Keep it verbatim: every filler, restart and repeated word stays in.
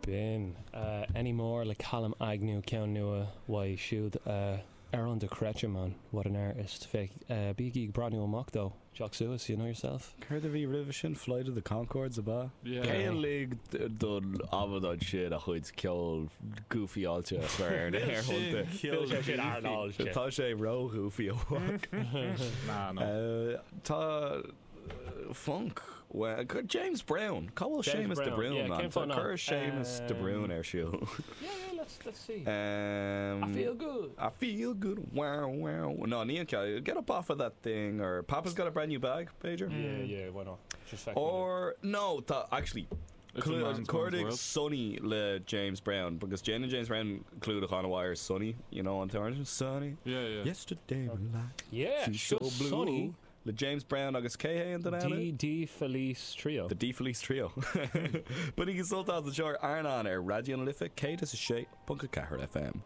B'in uh, Anymore le Callum Agnew ceann nua uaidh siúd uh, ar dochreidte man what an artist féach uh, bígí ag breathnú amach dó Jock suas you know yourself Céard a bhí roimhe sin Flight of the Conchords ab ea? Yeah. Cé a lig don amadán sin a chuid ceol goofy-áilte a chur ar na haerthonnta? Ceol sé sin airnáilte. Tá sé ró-ghoofy amach. Nah, no. Uh, Tá uh, funk well, James Brown Cá bhfuil James Seamus de Brown, Brún yeah, man cén fáth Tá nach? cur Seamus de Brún ar siúl. Yeah, yeah, let's let's see. Um, I feel good. I feel good. Wow, wow. No, ní an get up off of that thing or Papa's got a brand new bag, Pager. Yeah, yeah, why not? Just second. Or no, tá actually It's a man's man's Cuardaigh world. Sunny le James Brown because Jane and James Brown clúdach an-mhaith ar Sunny, you know an t-amhrán Sunny. Yeah, yeah. Yesterday my life Yeah, seems so sure, blue. Sonny Le James Brown agus cé hé an duine eile? D D Felice Trio. The D Felice Trio. Bainigí sult as anseo ar Airneán ar Raidió na Life céad is a sé ponc a ceathair FM.